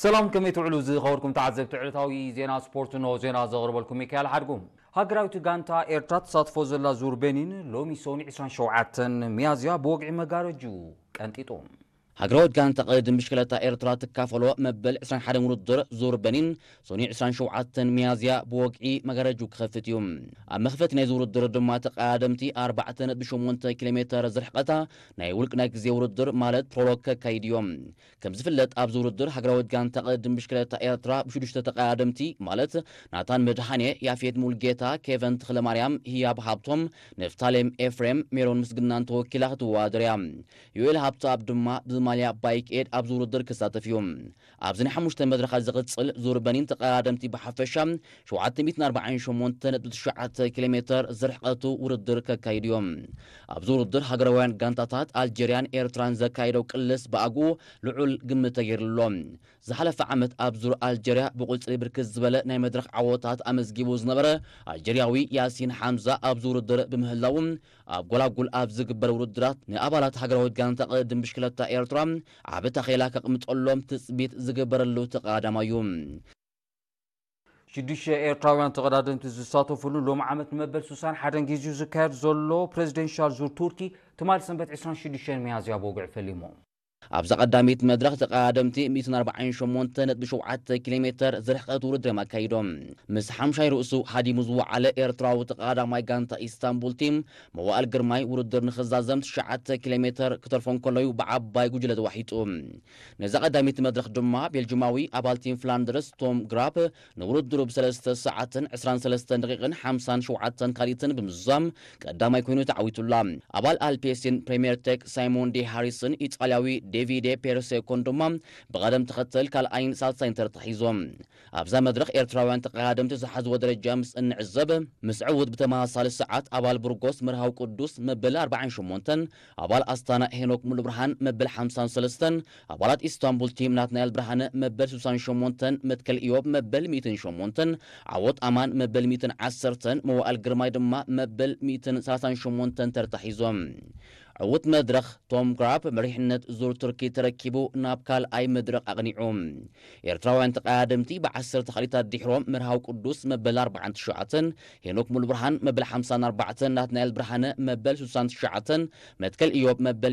ሰላም፣ ከመይ ትውዕሉ ዝኸበርኩም ተዓዘብቲ ዕለታዊ ዜና ስፖርት? እንሆ ዜና ዘቕርበልኩም ሚካኤል ሓድጉ። ሃገራዊት ጋንታ ኤርትራ ትሳትፎ ዘላ ዙር ቤኒን ሎሚ ሰኑይ ዕስራን ሸውዓተን ሚያዝያ ብወግዒ መጋረጁ ቀንጢጡ። ሃገራዊት ጋንታ ቅድድም ብሽክለታ ኤርትራ ትካፈሎ መበል ዕስራን ሓደን ውድድር ዙር ቤኒን ሰኑይ ዕስራን ሸውዓተን ሚያዝያ ብወግዒ መጋረጁ ክኸፍት እዩ። ኣብ መኽፈቲ ናይዚ ውድድር ድማ ተቐዳደምቲ ኣርባዕተ ነጥቢ ሸሞንተ ኪሎ ሜተር ዝርሕቐታ ናይ ውልቅ ናይ ግዜ ውድድር ማለት ፕሮሎግ ከካይድ እዮም። ከም ዝፍለጥ ኣብዚ ውድድር ሃገራዊት ጋንታ ቅድድም ብሽክለታ ኤርትራ ብሽዱሽተ ተቐዳደምቲ ማለት ናታን መድሃኔ፣ ያፌት ሙልጌታ፣ ኬቨን ተኽለማርያም፣ ህያብ ሃብቶም፣ ንፍታሌም ኤፍሬም፣ ሜሮን ምስግናን ተወኪላ ክትወዳደር እያ። ዮኤል ሃብተኣብ ድማ ብማልያ ባይክ ኤድ ኣብዚ ውድድር ክሳተፍ እዩ። ኣብዚ ናይ ሓሙሽተ መድረኻት ዝቕጽል ዙር በኒን ተቐዳደምቲ ብሓፈሻ ሸውዓተ ሚእትን ኣርባዓን ሸሞንተ ነጥቢ ትሽዓተ ኪሎ ሜተር ዝርሕቀቱ ውድድር ከካይዱ እዮም። ኣብዚ ውድድር ሃገራውያን ጋንታታት ኣልጀርያን ኤርትራን ዘካየደው ቅልስ ብኣግኡ ልዑል ግምት ተገይርሉ ኣሎ። ዝሓለፈ ዓመት ኣብ ዙር ኣልጀርያ ብቁጽሪ ብርክት ዝበለ ናይ መድረኽ ዓወታት ኣመዝጊቡ ዝነበረ ኣልጀርያዊ ያሲን ሓምዛ ኣብዚ ውድድር ብምህላዉ ኣብ ጎላጉል ኣብ ዝግበር ውድድራት ንኣባላት ሃገራዊት ጋንታ ቅድድም ብሽክለታ ኤርትራ ዓቢ ታኼላ ከቕምጠሎም ትጽቢት ዝግበረሉ ተቐዳዳማይ እዩ። ሽዱሽተ ኤርትራውያን ተቐዳደምቲ ዝሳተፍሉ ሎም ዓመት ንመበል ስሳን ሓደን ግዜኡ ዝካየድ ዘሎ ፕሬዚደንሻል ዙር ቱርኪ ትማል ሰንበት ዕስራን ሽዱሽተን ሚያዝያ ብወግዒ ፈሊሙ። ኣብዛ ቀዳሚት መድረኽ ተቐዳደምቲ ሚእትን ኣርባዓን ሸሞንተ ነጥቢ ሸውዓተ ኪሎ ሜተር ዝርሕቀት ውድድር እዮም ኣካይዶም። ምስ ሓምሻይ ርእሱ ሃዲሙ ዝወዓለ ኤርትራዊ ተቐዳዳማይ ጋንታ ኢስታንቡል ቲም መዋእል ግርማይ ውድድር ንኽዛዘም ትሽዓተ ኪሎ ሜተር ክተርፎ እንከሎ እዩ ብዓባይ ጉጅለ ተዋሒጡ። ነዛ ቀዳሚት መድረኽ ድማ ቤልጅማዊ ኣባል ቲም ፍላንደርስ ቶም ግራፕ ንውድድሩ ብሰለስተ ሰዓትን ዕስራን ሰለስተን ደቂቕን ሓምሳን ሸውዓተን ካልኢትን ብምዝዛም ቀዳማይ ኮይኑ ተዓዊቱላ። ኣባል ኣልፔሲን ፕሬምየር ቴክ ሳይሞን ዴ ሃሪስን ኢጣልያዊ ዴቪዴ ፔርሴኮን ድማ ብቐደም ተኸተል ካልኣይን ሳልሳይን ተርታ ሒዞም። ኣብዛ መድረኽ ኤርትራውያን ተቐዳደምቲ ዝሓዝዎ ደረጃ ምስ እንዕዘብ፣ ምስ ዕዉት ብተመሳሳሊ ሰዓት ኣባል ቡርጎስ መርሃዊ ቅዱስ መበል ኣርባዓን ሸሞንተን፣ ኣባል ኣስታና ሄኖክ ሙሉብርሃን መበል ሓምሳን ሰለስተን፣ ኣባላት ኢስታንቡል ቲም ናትናኤል ብርሃነ መበል ስሳን ሸሞንተን፣ መትከል ኢዮብ መበል ሚእትን ሸሞንተን፣ ዓወት ኣማን መበል ሚእትን ዓሰርተን፣ መዋእል ግርማይ ድማ መበል ሚእትን ሰላሳን ሸሞንተን ተርታ ሒዞም። ዕዉት መድረኽ ቶም ግራፕ መሪሕነት ዙር ቱርኪ ተረኪቡ ናብ ካልኣይ መድረኽ ኣቕኒዑ። ኤርትራውያን ተቐዳደምቲ ብዓሰርተ ካልኢታት ድሕሮም መርሃዊ ቅዱስ መበል ኣርባዓን ትሽዓተን፣ ሄኖክ ሙሉብርሃን መበል ሓምሳን ኣርባዕተን፣ ናትናኤል ብርሃነ መበል ስሳን ትሽዓተን፣ መትከል ኢዮብ መበል